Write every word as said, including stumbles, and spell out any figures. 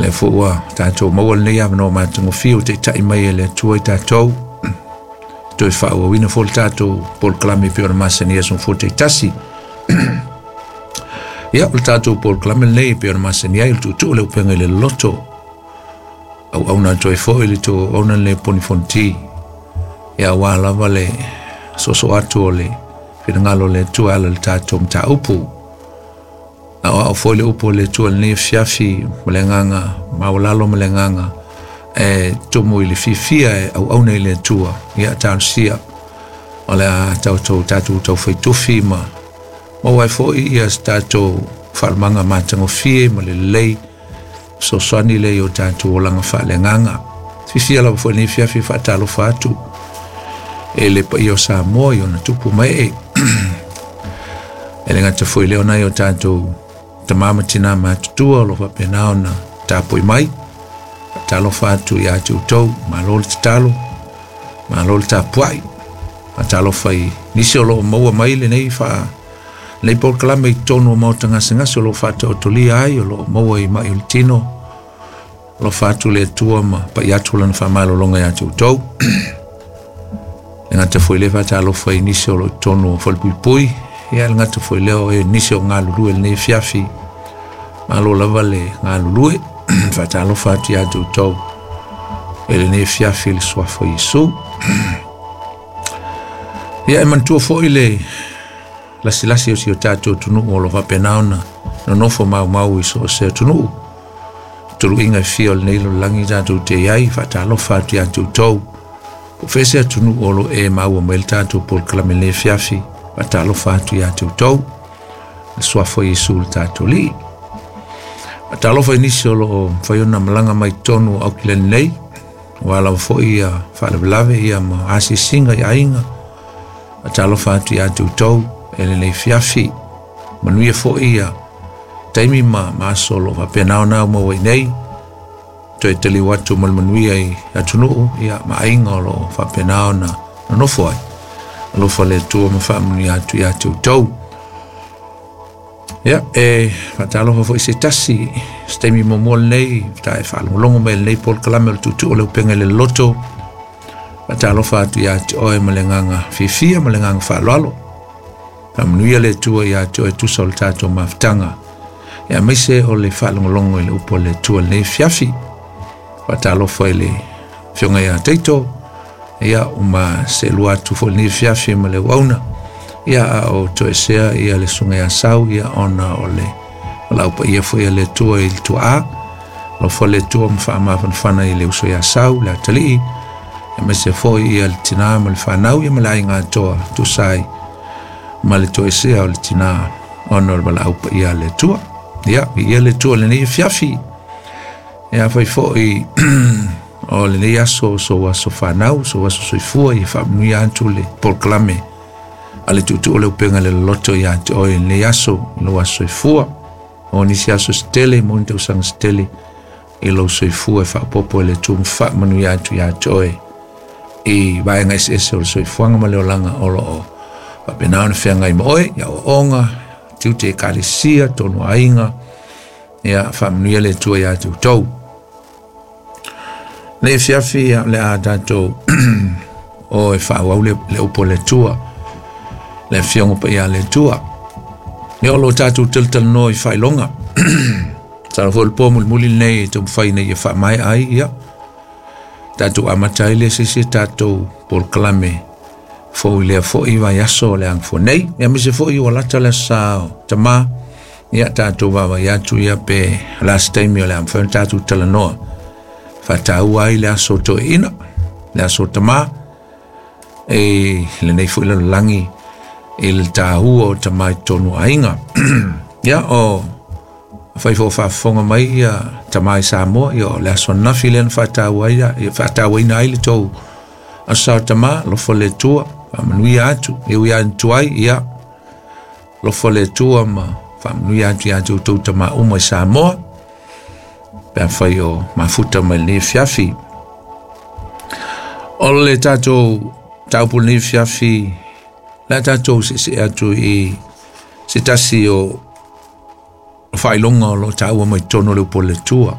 Le foi ua tatou maua lenei avanoa matagofie ua taitai mai e le Atua i tatou toe faaauauina foi le tatou polokalame e pei ona masani ai aso fua taitasi. Ia, o le tatou polokalame lenei e pei ona masani ai o le tuutuu le upega i le loloto auauna atu ai foi le tou auauna lenei Poni Fonoti. Ia, aua lava le soso atu o le finagalo o le Atua e ala i le tatou mataupu. Aoao foi le upu o le Atua i lenei afiafi ma le agaga maualalo ma le agaga e tumu i le fiafia e auauna i le Atua. Ia, talosia o le a tatou tatou taufaitufi ma maua ai foi ia se tatou faalumaga matagofie ma le lelei fesoasoani lea i o tatou olaga faaleagaga. Fiafia lava foi lenei afiafi faatalofa atu e le paia o Samoa i ona tupu ma ee. E le gata foi lea o nai o tatou tama ma tina matutua o lo o faapena ona tapui mai. Faatalofa atu ia te outou, malo le tatalo, malo le tapuai. Faatalofa i nisi o lo o maua mai lenei faa lenei polokalame i totonu o maota gasegase o lo o faataotolia ai, o lo o maua i mai o le tino. Alofa atu le Atua ma pai atu lana faamalologa ia te outou. Le gata foi lea faatalofa i nisi o lo o i totonu o falepuipui. Ia, le gata foi lea o e nisi o galulue lenei afiafi. Malo lava le galulue. Faatalofa atu ia te outou e lenei afiafi i le suafa o Iesu. Ia, e manatua foi le lasilasi o si o tatou atunuu o lo o faapena ona nonofo maumau i so o se atunuu. Tuluiga e fia o lenei lalolagi tatou te i ai, faatalofa atu ia te outou. Po o fea se atunuu o lo o e maua mai le tatou polokalame lenei afiafi, faatalofa atu ia te outou. Le suafa o Iesu le tatou Alii. Faatalofa i nisi o lo o mafai ona malaga mai totonu o Aukilani nei, aua lava foi ia faalavelave ia ma asiasiga i aiga. Faatalofa atu ia te outou e lenei afiafi. Manuia foi ia taimi ma ma aso o lo o faapena ona maua i nei. Toe taliu atu ma le manuia i atunuu ia ma aiga o lo o faapena ona nonofo ai. Alofa le Atua ma faamanuia atu ia te outou. Ia, e faatalofa foi se tasi se taimi muamua lenei ta e faalogologo mai lenei polokalame o le tuutuu o le upega i le loloto. Faatalofa atu ia te oe ma le agaga fiafia ma le agaga faaaloalo. Faamanuia le Atua ia te oe tusa o le tatou mafutaga. Ia, aemaise o le faalogologo i le upu o le Atua lenei afiafi. Faatalofa i le afioga ia Taito. Ia, uma seelua atu foi lenei afiafi ma le auauna. Ia, a o toesea ia le susuga ia Sau, ia ona o le laupaia foi a le Atua i le tuaa. Alofa le Atua ma faamafanafana i le uso ia Sau, le atalii, aemaise foi ia le tina ma le fanau, ia ma le aiga atoa tusa ai ma le toesea o le tina ona o le valaau paia a le Atua. Ia, viia le Atua lenei afiafi. Ia, afai foi o lenei aso sou aso fanau, sou aso soifua, ia faamanuia atu le polokalame a le tuutuu o le upega i le loloto ia te oe i lenei aso, i lou aso soifua. O nisi aso se tele, mo ni tausaga se tele i lou soifua e faaopoopo e le Atua ma faamanuia atu ia te oe i vaega eseese o le soifuaga ma le olaga o lo o faapena ona feagai ma oe, i aoaoga, tiute ekalesia, tonu aiga. Ia, faamanuia le Atua ia te outou. Lenei afiafi ia, o le a tatou o e faaauau le, le upu o le Atua, le afioga paia a le Atua. Ia, o lo o tatou talatalanoa i faailoga. Masalo foi le po mulimuli lenei e taumafai ina ia faamaea ai, ia tatou amata ai le se isi tatou polokalame fou i lea foi vaiaso o le agafua nei. Ia, aemaise foi ua lata le aso sa o tama, ia tatou vaavaai atu ia pe o le a se taimi o le a mafai ona tatou talanoa faataua ai le aso o toeaina, le aso o tama, e lenei foi lalolagi i le taua o tama i totonu o aiga. Ia, o afai foi o faafofoga mai ia tama i Samoa, ia o le aso ananafi lea na faataua ai, ia faatauaina ai le tou aso sa o tama. Alofa le Atua, faamanuia atu, e ui lava ina tuai, ia alofa le Atua ma faamanuia atu ia te outou tama uma i Samoa, pe afai o mafuta mai lenei afiafi. O le tatou mataupu lenei afiafi, le a tatou seesee atu i se tasi o faailoga o lo o taua mai totonu o le upu o le Atua.